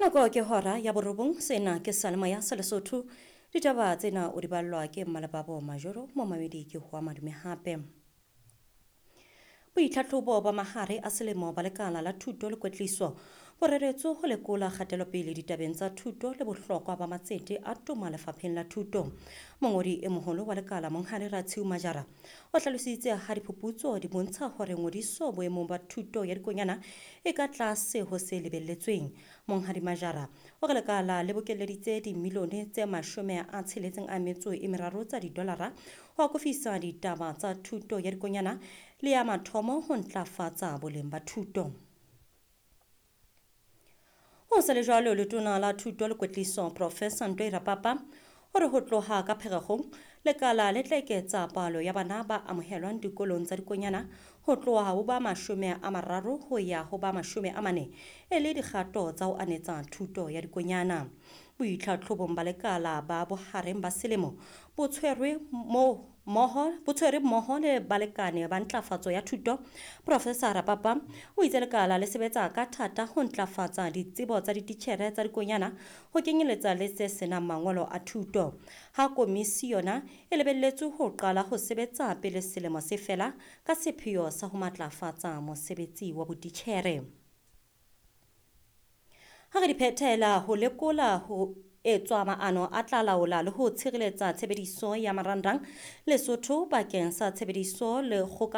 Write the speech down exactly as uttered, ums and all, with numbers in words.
Nako ke hora ya borobong, sena ke Salemoya sa Lesotho. Ditaba tsena o di ballwa ke Mmalebabo Majoro, momamedi ke hoa madume hape. Boitlhatlhobo ba mahare a selemo ba lekala la thuto le kwetliso bo reretswe ho lekola kgatelopele ditabeng tsa thuto le bohlokwa ba matsete a toma lefapheng la thuto. Mongodi e moholo wa lekala Monghadi Ratshiu Majara o hlalositse ha diphuputso di bontsha hore ngodiso boemong ba thuto ya dikonyana e ka tlase ho se lebelletsweng. Monghadi Majara o re lekala le bokelleditse dimilione tse mashome a tsheletseng a metso e meraro tsa didolara ho akofisa ditaba tsa thuto ya dikonyana le ya mathomo ho ntlafatsa boleng ba thuto. Ho sa le jwalo, letona la thuto le kwetliso Professor Ntoi Rapapa o re ho tloha ka Pherekgong lekala le tla eketsa palo ya bana ba amohelwang dikolong tsa dikonyana ho tloha ho ba mashome a mararo ho ya ho ba mashome a mane e le dikgato tsa ho anetsa thuto ya dikonyana. Boitlhatlhobong ba lekala ba bohareng ba selemo bo tshwerwe moo mmoho bo tshwere mmoho le balekane ba ntlafatso ya thuto. Professor Rapapa o itse lekala le sebetsa ka thata ho ntlafatsa ditsebo tsa dititjhere tsa dikonyana ho kenyeletsa le tse senang mangolo a thuto. Ha komisi yona e lebelletswe ho qala ho sebetsa pele selemo se fela ka sepheo sa ho matlafatsa mosebetsi wa botitjhere. Ha re di phethela ho lekola ho etswa maano a tla laola le ho tshireletsa tshebediso ya marangrang Lesotho bakeng sa tshebediso le kgoka